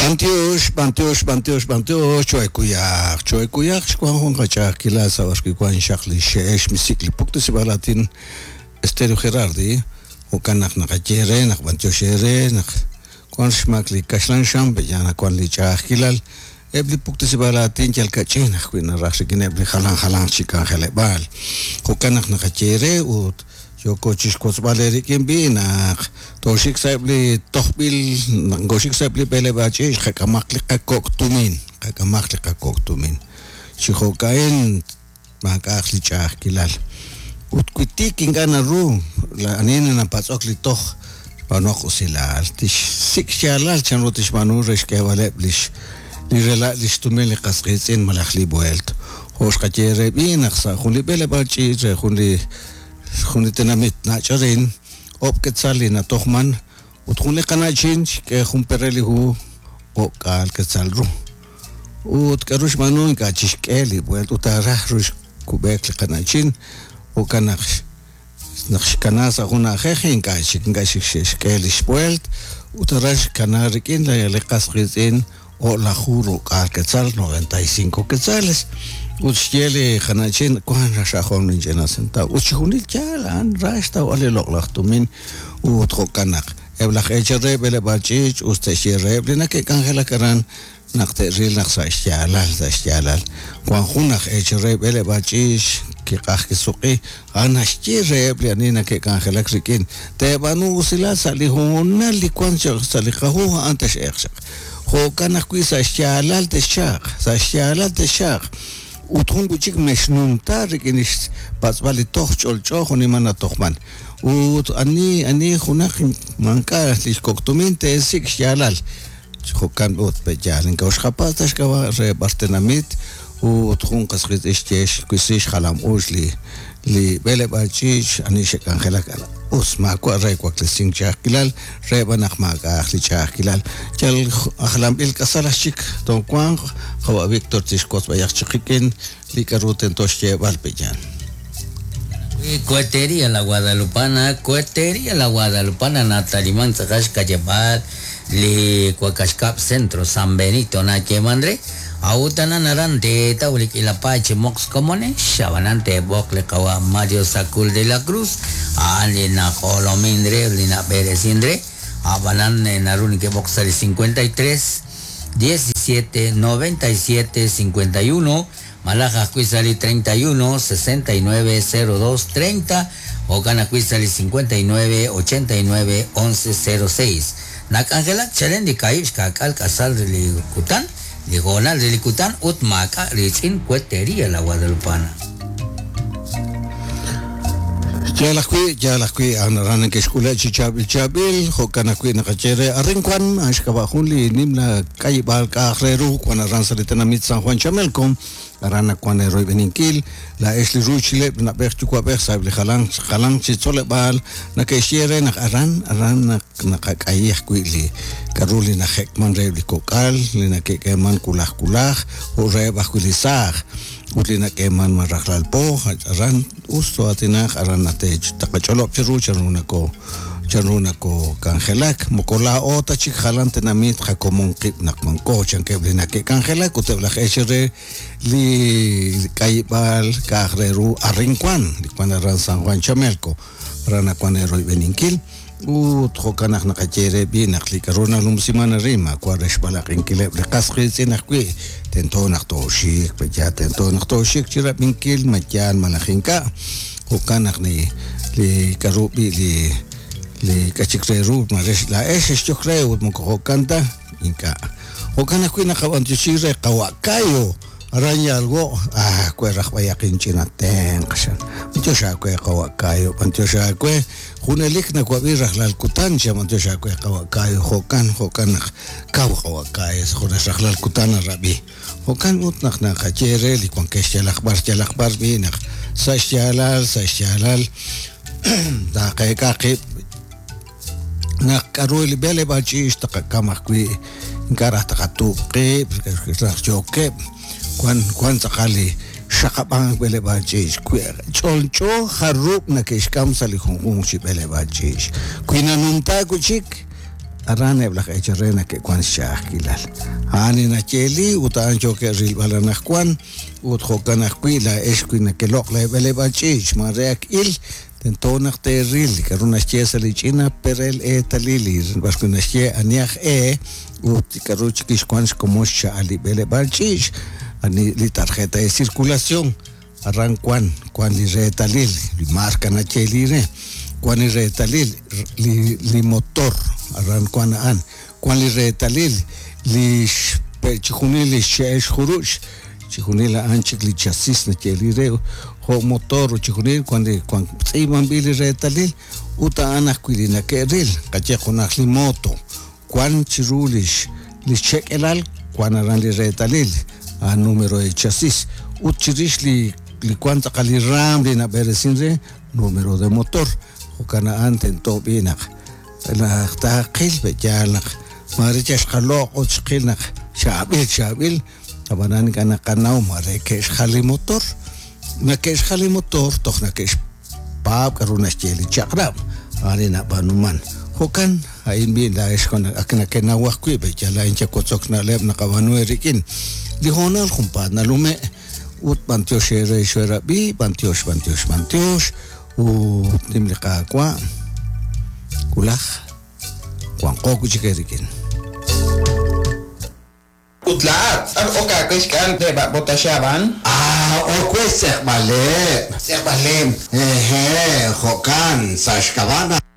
B'antiox, b'antiox, b'antiox, b'antiox, cho'ekuyaq, cho'ekuyaq xwan jun qach'a'ajkilal sa' b'arwi' wan xaq li xxe'el xmisik' li puktesib'aal aatin Stereo Gerardi, jo'kan naq naqaye eere naq b'antiox eere naq wan xmaak li kaxlan xam pe'yaal naq wan li ch'a'ajkilal Eb' li puktesib'aal aatin yal ka'ch'in ajwi' naraj rik'ineb' li jalan jalanq chi k'anjeleb'aal. Jo'kan naq naqaye eere ut yooko chixwotzb'al eerik'in b'i' naq tooxik sa'eb' li tojb'il, naq nokooxik sa'eb' li b'eleb'aal ch'iich' qak'amaq li qakok' tumin, qak'amaq li qakok' tumin. Chi jo'ka'in maak'a'aq li ch'a'ajkilal. Ut wi tiik ink'a' naru, ani napatz'ok li toj xb'aanuhaq usilal, tixsik' xyaalal chanru tixb'aanu re xk'eeb'aleb' lix li rela' lix tumin li qas qiitz'in malaj li b'ueelt. Jo' xqaye eere b'i' naq sa' jun li b'eleb'aal ch'iich' re jun li jun li tenamit nach' arin, oob' ketzal li natojman ut jun li qana'chin xk'e jun perel li hu o'k'aal ketzal ru. Ut k'aru xb'aanu ink'a' chixk'e li b'ueelt ut taaraj ru xkub'eek li qana'chin, jo'kan naq naq xkana sa' jun na'ajej ink'a' chik ink'a' chik xe'xk'e li xb'ueelt ut aran xkana rik'in li qas qiitz'in o'laju ro'k'aal quetzal, 95 quetzales. Ut xye li qana'chin wank xajom linch'ina sentav ut chixjunil yaal a'an ra xtawb'al li loq'laj tumin ut jo'kan naq eb' laj eechal re b'eleb'aal ch'iich' us te'xye reheb' li nake'k'anjelak aran naq te'ril naq sa' xyaalal, sa' xyaalal, wan jun aj eechal re b'eleb'aal ch'iich kiq'aj kisuq'i, a'an naxye reheb' li ani nake'k'anjelak rik'in, Teeb'aanu usilal sa' li hoonal li wan chaq sa' li qahu a'an tex'eeq chaq. Jo'kan ajwi' sa' xyaalal texchaaq, sa' xyaalal texchaaq. Ut jun wi' chik mexnumta rik'in li xpatz'b'al li toj ch'olch'o jo'nimal natojman. Ut ani, ani junaq maak'a' li xkok' tumin teesik' xyaalal. Jo'kan ut, pe'yaal ink'a' xqapatz' ta xk'ab'a' re b'ar tenamit ut jun qas qiitz'in xye xwisi xjalam-uuch li li b'eleb'aal ch'iich' ani xe'k'anjelak aran. Us, maawa' re waklesink ch'a'ajkilal, re b'an naq maak'a'aq li ch'a'ajkilal. Yal ajlanb'il k'asal aj chik toowanq, qawa' Victor tixwotz b'ayaq chik qik'in li k'a'ru tento xyeeb'al, pe'yaal. Cohetería La Guadalupana, Cohetería La Guadalupana nataliman tz'aqal xka'yab'aal li Wakax Kab' Centro San Benito nayeeman re, a'ut anan aran teetaw li k'iila paay chi moqs komonex, ab'anan teeb'oq li qawa' Mario Sacul de la Cruz, a'an li naq'olomin re ut li nab'eresin re, ab'anan naru neke'b'oq sa' li 53 17 97 51 malaj ajwi' sa' li 31 69 02 30, jo'kan ajwi' sa' li 59 89 11 06. Nak'anjelak chalen li kaahib' xka'k'aal k'asal re li kutan, li hoonal re li kutan ut maak'a' riitz'in Cuetería La Guadalupana. Yaal ajwi', yaal ajwi', a'an aran neke'xk'ule' chi chaab'il chaab'il, jo'kan ajwi' naqaye re arin wan, a'an xk'ab'a' jun li nimla k'ayib'aal k'a'aq re ru wan aran sa' li tenamit San Juan Chamelco, aran nawan eeroyb'eninkil, laa'ex li ruuchileb' li na'b'ej yuwa'b'ej sa'eb' li jalan jalanq chi tzoleb'aal nake'xye re naq aran aran naq naqak'ayi ajwi' li k'a'ru li najek'man reheb' li kok'al, li nake'k'eeman wulaj wulaj, jo' reheb' ajwi' li saaj. Ut li nak'eeman ma rajlal po, aran us too'aatinaq, aran taqach'olob' cheru chanru nako chanru nakok'anjelak, moko laa'o ta chik jalan tenamit qakomon qib' naq wanko, chankeb' li nake'k'anjelak ut eb' laj eechal re li k'ayib'aal k'a'aq re ru arin wan, li wan aran San Juan Chamelco, aran nawan eeroyb'eninkil. Ut jo'kan naq naqaye eere b'i' naq li k'a'ru nanumsiman arin maawa' re xb'alaq'inkileb' li qas qiitz'in ajwi', tento naq tooxik, pe'yaal tento naq tooxik chirab'inkil ma yaal malaj ink'a'. Jo'kan naq li li k'a'ru b'i' li li k'a' chik re ru maare laa'ex xexyok re ut moko jo'kan ta, ink'a'. Jo'kan ajwi' naqab'antioxi re qawa' Cayo. Aran yalwo', ah, we raj b'ayaq inch'ina tenq', chan. B'antiox aawe, qawa' Cayo, b'antiox aawe. Junelik nawab'i rajlal kutan, chan, b'antiox aawe, qawa' Cayo. Jo'kan, jo'kan naq kaw, qawa' Cayo, junes rajlal kutan narab'i. Jo'kan ut naq naqaye re li wankex yalaq b'ar, yalaq b'ar b'i' naq sa' xyaalal, sa' xyaalal taqeek'a qib' naq k'a'ru li b'eleb'aal ch'iich' taqak'am ajwi' ink'a' raj taqatuub' qib' raj yookeb' wan wan tz'aqal li xaqab'ank b'eleb'aal ch'iich' wi ch'olch'o jarub' nake'xk'am sa' li junjunq chi b'eleb'aal ch'iich' wi nanumta wi' chik. Aran eb' laj eechal re nake'wan xch'a'ajkilal. A'an li nayeeli ut a'an yookeb' rilb'al anaqwan ut jo'kan ajwi' laa'ex wi nakeloq' leeb'eleb'aal ch'iich' maare ak il, tento naq teeril li k'a'ru naxye sa' li ch'ina perel eetalil li b'ar wi' naxye ani aj e ut li k'a'ru chik xwan xkomon xcha'al li b'eleb'aal ch'iich', ani li tarjeta de circulación. Aran wan, wan li reetalil, li marca nayeeli re, wan li reetalil li, li motor, aran wan a'an, wan li reetalil li chijunil li xxe'el xjuruch', chijunil a'an chik li chasis nayeeli re, jo' motor ut chijunil wan li wan tz'iib'anb'il li reetalil ut a'an ajwi' li nake'ril, qaye junaq li moto, wan chiru lix lix che'k'elal wan aran li reetalil, a'an numero de chasis, ut chirix li li wan tz'aqal li raam li nab'eresin re, numero de motor, jo'kan a'an tento b'i' naq naq taaqil pe'yaal naq maare yal xqaloq' ut xqil naq chaab'il chaab'il, ab'anan ink'a' naqanaw maare ke'xjal li motor, nake'xjal li motor toj nake'xpaab' k'a'ru naxye li chaq'rab', a'an li nab'aanuman. Jo'kan a'in b'i' laa'ex ak nakenaw ajwi' pe'yaal laa'in yawotzok na'leb' naqab'aanu eerik'in. Li hoonal junpaat nalume' ut b'antiox eere xeerab'i, b'antiox, b'antiox, b'antiox, ut nim li Qaawa' wulaj wanqo wi' chik eerik'in. Ut laa'at, b'ar ok aawe xk'al re b'ab'otaxab'an? Ah, ok we xtz'eqb'aleb'. Xtz'eqb'aleb', hehe', jo'kan, sa' xk'ab'a' naq.